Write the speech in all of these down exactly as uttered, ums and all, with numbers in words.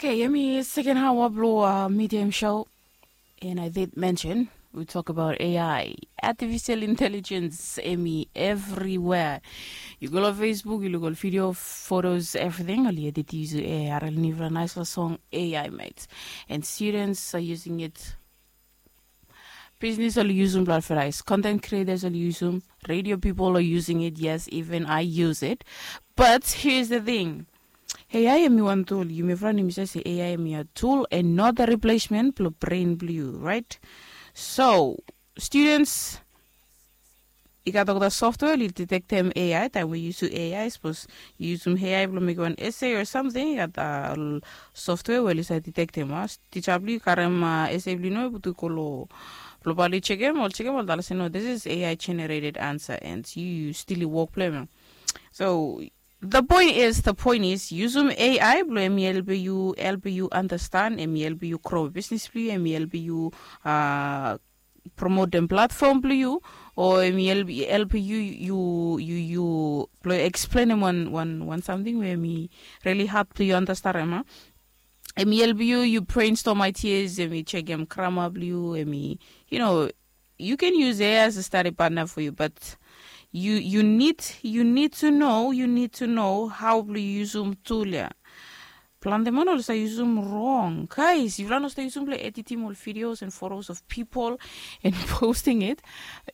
Okay, yumi seken hawa blong medium show. And I did mention we talk about A I, artificial intelligence, emi everywhere. You go to Facebook, you look at video, photos, everything. Oli edit use A I, arel nifra nice song A I made. And students are using it. Business oli usum blong advertise. Content creators oli usum. Radio people are using it. Yes, even I use it. But here's the thing. A I emi wan tool, yumi fran yumi save se A I emi a tool and not a replacement blong brain blong yu, right? So students, i gat olgeta software oli detektem A I taem we yu yusum A I. Sapos yu yusum A I blong mekem wan essay o samting, i gat ol software we oli save detektem. Tija blong yu karem essay blong yu no i putum i go long blong bae oli jekem, oli jekem oli talem se no, this is A I generated answer and yu stil i wok blong em. So the point is, the point is, yusum A I blong emi helpem yu, helpem yu understand, emi helpem yu grow business blong yu, emi helpem yu promotem platform blong yu, o emi helpem yu, yu, yu, yu blong eksplenem wan, wan, wan samting we emi really hard blong yu understand, em a? Emi helpem yu, yu brainstorm ideas, emi jekem grammar blong yu, emi, you know, you can use A I as a study partner for you, but you, you need, you need to know, you need to know hao blong yu yusum tool ya. Plante man oli save yusum rong. Guys, yufala no save yusum blong editim ol videos and photos of people and posting it.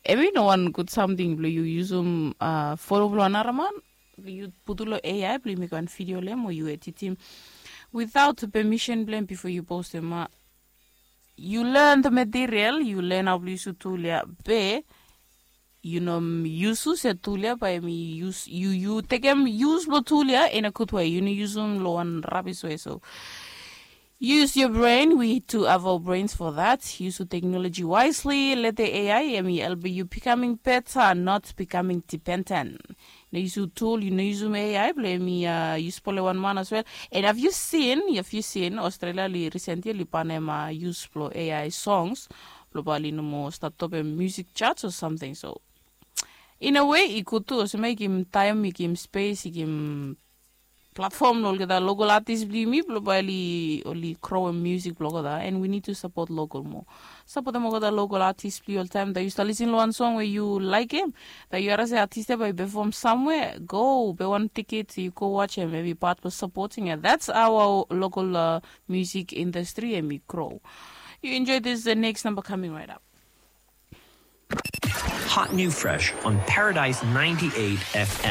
Emi no wan gud samting blong yu yusum photo blong anara man blong yu putum long A I blong yu mekem wan video long em o yu editim without permission blong em bifo yu postem. Yu learn the material, yu learn hao blong yusum tool ya, be yu no yusum se tool ya bae emi yus, yu, yu tekem yus blong tool ya in a good way. Yu no yusum long wan rabis way. So use your brain. We to have our brains for that. Yusum technology wisely. Let the A I emi helpem yu becoming better, not becoming dependent. No yusum tool, yu no yusum A I blong emi yu spolem wan man as well. And have you seen, have you seen Australia oli recently oli banem use blong A I songs blong bae oli no moa stap topem music charts o samting. So in a way i gud tu, olsem i givim taem, i givim spes, i givim platform long olgeta local artist blong yumi blong bae oli, oli growem music blong olgeta. And we need to support local moa. Sapotem olgeta local artist blong yu oltaem. Taem yu stap lisin long wan song we yu laekem, taem yu harem se artist ya bae i pefom samwea, go bai wan tiket, yu go wajem, emi pat blong supporting ya. That's how our local music industry emi grow. You enjoy this, the next number coming right up. Hot new fresh on Paradise ninety-eight F M.